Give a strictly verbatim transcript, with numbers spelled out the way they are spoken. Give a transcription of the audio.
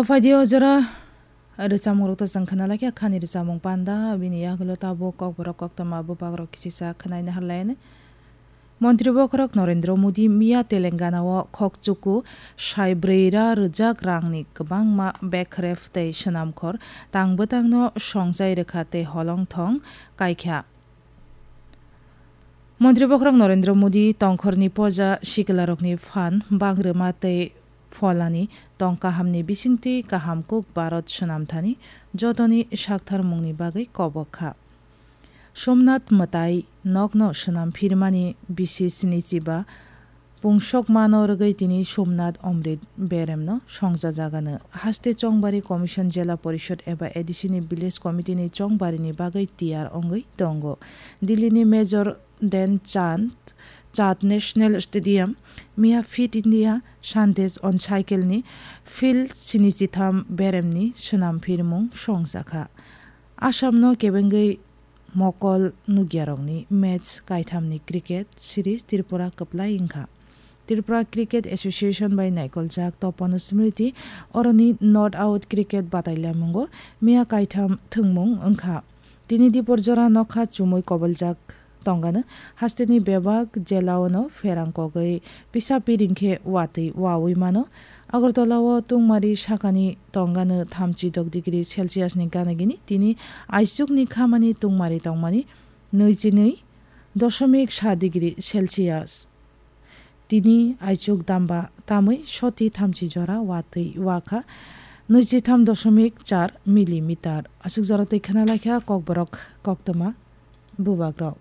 Phaidi o jora rwchapmung rok to chwng khna laikha, khani rwchapmung panda, bini yagulo tabuk kokborok koktwma bubagrok kisisa khnaina harlaini. Montri bokhorok Narendra Modi miya Telangana o khokchuku saibrwi ra rwjak rangni kwbangma bekref tei swnamkhor tang bwtangno songchai rwkha tei holong thong kaikha. Montri bokhorok Narendra Modi tongkhorni poja siklarokni phan bangrwma tei pholani tong kahamni bisingtwi kaham kuk Bharat swnamthani jotoni saktharmungni bagwi kobok kha. Somnath mwtai nokno swnam phirmani bisi sinichi ba pungsokmano rwgwi tini Somnath Amrit beremno songchajagano haste Chongbari Commission Jela Porishod eba A D C ni Village Committee ni chongbarini bagwi tiyar wngwi tongo. Delhi ni Major Dhyan Chand Chand National Stadium miya Fit India Sandesh on Cycle ni field sinichi tham beremni swnam phirmung songjakha. Assamno kebengwi mokol nukyarokni match kaithamni cricket series Tripura kwplai wngkha. Tripura Cricket Association bai naikoljak Topon Smriti oroni not out cricket batailamungo miya kaitham thwngmung wngkha. Tini dipor jora nokha chumui koboljak tongano hasteni bebak jelaono pherang kogwi pisa piring khe watwi wawi mano. Agartala o tungmari sakani tongano thamchi dok degree Celsius ni gana gini, tini aichukni khamani tungmari tongmani nui chi nui doshomik sa degree Celsius. Tini aichuk damba tamwi soti thamchi jora watwi wakha nui chi tham doshomik char millimeter. Aswk jora twi khna laikha kokborok koktwma bubagrok.